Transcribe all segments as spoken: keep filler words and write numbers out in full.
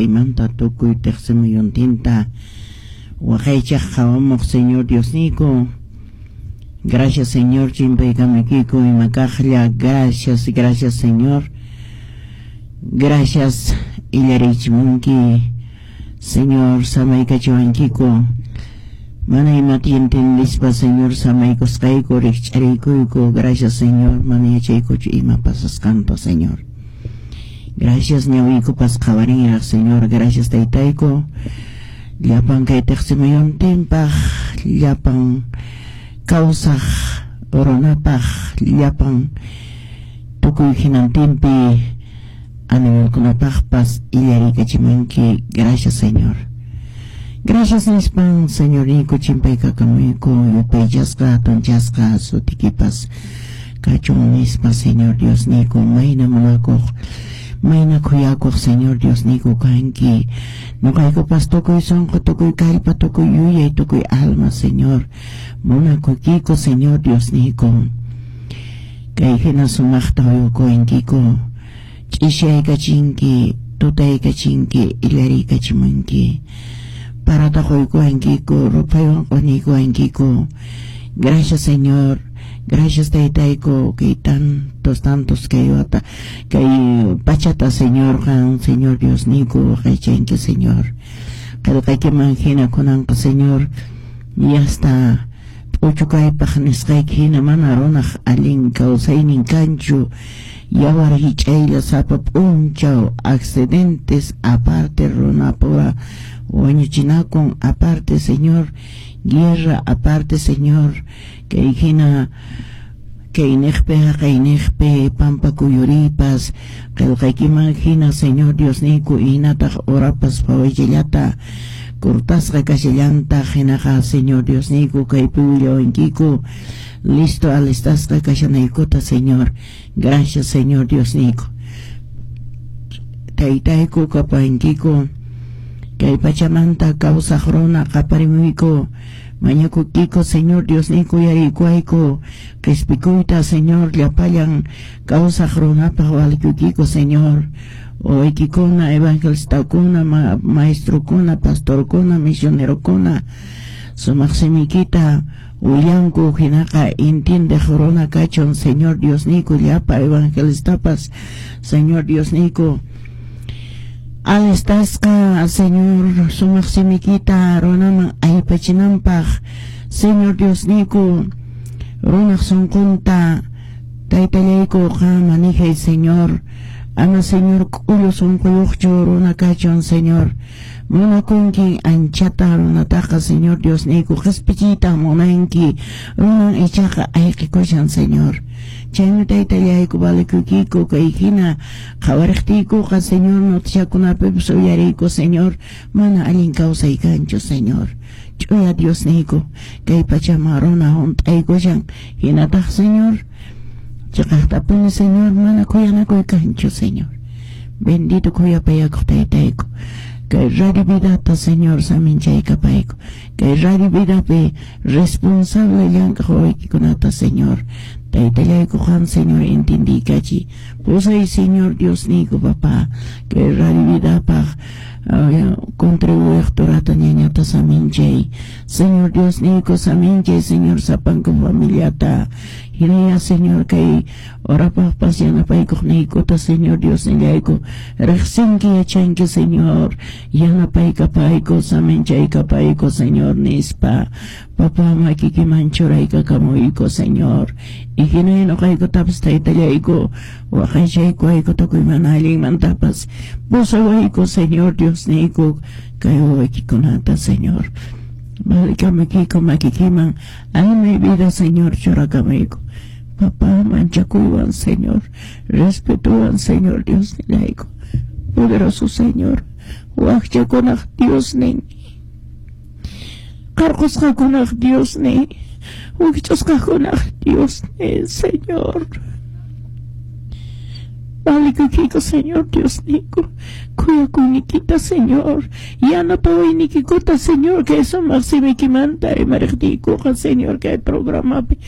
Kaymanta tukuy tiqsimuyuntinta waqaychaq qhawamuq Señor Diosniyku. Gracias, Señor, chimpaykamuykiku imakaqlla. Gracias, gracias, Señor. Gracias, illarichimunki. Señor, samaykachiwankiku. Mana imata entendispa, Señor, samaykusqayku, rikch'ariykuyku. Gracias, Señor, mana yachaykuchu ima pasasqanta, Señor. Gracias, ñawiykupas qhawarinraq, Señor. Gracias, taytayku. Llapan kay tiqsimuyuntinpaq, llapan kawsaq runapaq, llapan tukuy hinantinpi animalkunapaqpas illariykachimunki. Gracias, Señor. Gracias nispan, Señorniyku, chimpaykakamuyku, yupaychasqa, hatunchasqa sutikipas kachun nispa, Señor Diosniyku, mayna munakuq, mayna khuyakuq Señor Diosniyku kanki. Nuqaykupas tukuy sunqu, tukuy kallpa, tukuy yuyay, tukuy alma, Señor, munakuykiku, Señor Diosniyku. Kay hina sumaqta uywakuwankiku, ch'ishaykachinki, tutaykachinki, illariykachimunki. Parata quykuwankiku, ruphaywan q'uniykuwankiku. Gracias, Señor. Gracias, taytayku, kay tantos, tantos kay wata, kay pachata, Señor, qan, Señor Diosniyku, waqaychanki, Señor. Qillqaykiman hina kunanqa, Señor, yasta p'uchukaypaq nisqayki hina mana runaq allin kawsaynin kanchu, yawar hich'aylla sapa p'unchaw, accidentes, aparte runapura wañuchinakun, aparte, Señor, guerra, aparte, Señor, kay hina kay niqpi haqay niqpi pampa kuyuripas qillqaykiman hina, Señor Diosniyku, hinataq urapas phawaychallata cortasqa kashallantaq hinaqa, Señor Diosniyku, kaypi willawankiku listo alistasqa kashanaykuta, Señor. Gracias, Señor Diosniyku. Taytayku, kapankiku kay pachamanta kawsaq runa qaparimuyku, mañakuykiku, Señor Diosniyku, yariykuwayku qispikuyta, Señor, llapallan kawsaq runapaq walikuykiku, Señor. Wawaykikuna, evangelistakuna, ma maestrokuna, pastorkuna, misionerokuna, sumaq simiykita willanku hinaqa entiendeq runa kachun, Señor Diosniyku, llapa evangelistapas, Señor Diosniyku, alistasqa, Señor, sumaq simikita runaman aypachinanpaq, Señor Diosniyku, runaq sunqunta taytallayku qan manijay, Señor. Ama, Señor, k'ullu sunquyuqchu runa kachun, Señor. Munakunki anchata runataqa, Señor Diosniyku, qispichiyta munanki, runan ichaqa ayqikushan, Señor. Chaymi taytallayku valikuykiku kay hina qhawariqtiykuqa, Señor, noticiakunapipas uyariyku, Señor, mana allin kawsay kanchu, Señor. Ch'uya Diosniyku, kay pachaman runa hunt'aykushan, hinataq, Señor, chiqaqtapuni, Señor, mana khuyanakuy kanchu, Señor. Bendito khuyapayakuq taytayku. Kay Radio Vidata, Señor, saminchaykapayku. Kay Radio Vidapi responsable llank'aq wawaykikunata, Señor. Taytallayku qan, Señor, entendiykachiy. Pusay, Señor Diosniyku, papá. Kay Radio Vidapaq contribuiq turata ñañata saminchay. Señor Diosniyku, saminchay, Señor, sapanku familiata. Hinaya, Señor, kay orapaqpas yanapaykuqniykuta, Señor Diosnillayku, riqsinki yachanki, Señor, yanapaykapayku, saminchaykapayku, Señor, nispa. Papá, makikiman churaykakamuyku, Señor. Y hinay nuqaykutapas taytallayku, waqaychaykuwayku tukuy mana allinmantapas. Pusawayku, Señor Diosniyku, kay wawaykikunata, Señor. Valikamaykiku makikiman, alma y vida, Señor, churakamayku. Papá, manchakuywan, Señor, respetuwan, Señor Diosnillayku. Poderoso Señor, waqchakunaq Diosnin, qarqusqakunaq Diosnin, wikch'usqakunaq Diosnin, Señor. Valikuykiku, Señor Diosniyku, khuyakuyniykita, Señor, yanapawayniykikuta, Señor, kay sumaq simiykimanta rimariqtiykuqa, Señor, kay programapi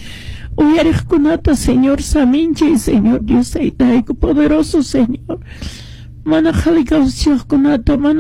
uyariqkunata, Señor, saminchay, Señor Dios taytayku, poderoso Señor, mana qhali kawsachaqkunata, mana